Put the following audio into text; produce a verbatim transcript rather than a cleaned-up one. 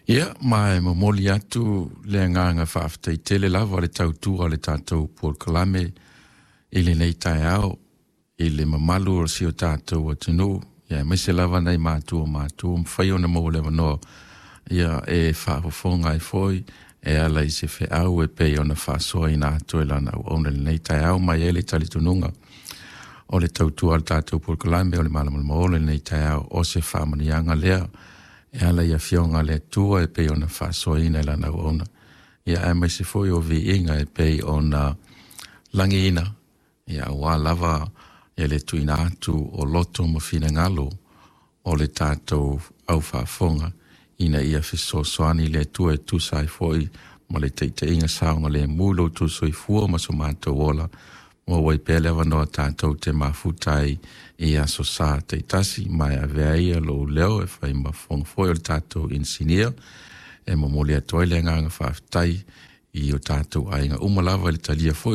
Ia, ma e momoli atu le agaga faafetai tele lava le tautua o le tatou polokalame i lenei taeao i le mamalu o si o tatou atunuu, ia aemaise lava nai matua o matua mafai ona maua le avanoa ia e faafofoga ai foi e ala i se feau e pei ona faasoaina atu e lana auauna i lenei taeao. Ma e i ai le talitonuga o le tautua a le tatou polokalame o le Malamalama Ola i lenei taeao o se faamanuiaga lea e ala i afioga a le Atua e pei ona faasoaina e lana auauna, ia aemaise foi o viiga e pei ona lagiina ia aua lava le tuuina atu o loto ma finagalo o le tatou aufaafofoga ina ia fesoasoani le Atua e tusa ai foi ma le taitaiga saogalemu i lo outou soifua ma so matou ola, maua ai pea le avanoa tatou te mafuta ai i aso Sa taitasi. Ma e avea ia lou leo e fai ma fofoga foi o le tatou inisinia e momoli atu ai le agaga faafetai i o tatou aiga uma lava i le talia foi.